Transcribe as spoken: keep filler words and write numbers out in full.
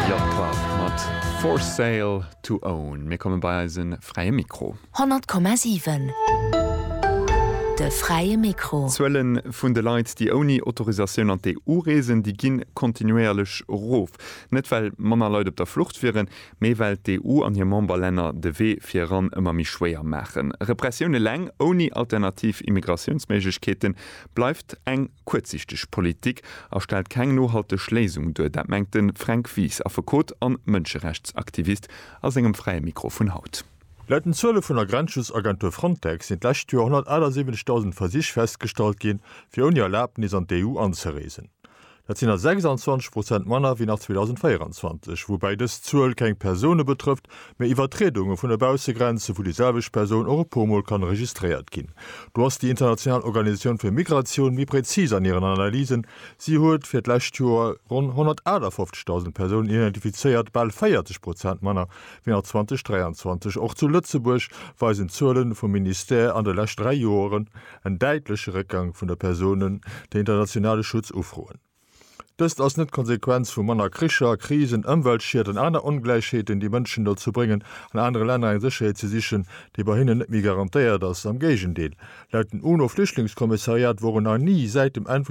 Yacht Club mat For Sale to Own. Mir komme bei eise fräie Mikro. honnert Komma siwen De fräie Mikro. D'Zuele vun de Leit, déi ouni Autorisatioun an d'E U reesen, déi ginn kontinuéierlech erof. Net well manner Leit op der Flucht wieren, mee well d'E U an hir Memberlänner de Wee fir eran ëmmer méi schwéier maachen. Repressioun eleng ouni alternativ Immigratiounsméiglechkeete bleift eng kuerzsiichteg Politik a stellt keng nohalteg Léisung duer. Dat mengt de Fränk Wies, Affekot a Mënscherechtsaktivist a sengem fräie Mikro vun haut. Laut den Zuele vun der Grenzschutzagentur Frontex sinn d'lescht Joer honnertachtesiwwenzegdausend Versich festgestallt ginn, fir ouni Erlabnis an d'E U anzereesen. Dat sinn der sechsanzwanzeg Prozent manner wéi nach zweedausendvéieranzwanzeg, woubäi dës Zuel keng Persoune betrëfft, mee Iwwertriedunge vun de Baussegrenze, wou déi selwecht Persoun och e puermol kann registréiert ginn. Do ass déi international Organisatioun fir Migratioun méi prezis an hiren Analysen. Si huet fir d'lescht Joer ronn honnertaachtafofzegdausend Persounen identifizéiert, bal véierzeg Prozent manner wéi nach zweedausenddräianzwanzeg. Och zu Lëtzebuerg weisen d'Zuele vum Ministère an de leschten dräi Joren en däitleche Réckgang vun de Persounen, déi internationale Schutz ufroen. Dëst ass net d'Konsequenz vu manner Kricher, Krisen, Ëmweltschied an aner Ongläichheeten, déi Mënschen dozou bréngen, an anere Länner eng Sécherheet ze sichen, déi bei hinnen net méi garantéiert ass. Am Géigendeel, laut dem UNO-Flüchtlingskommissariat woren nach ni säit dem Enn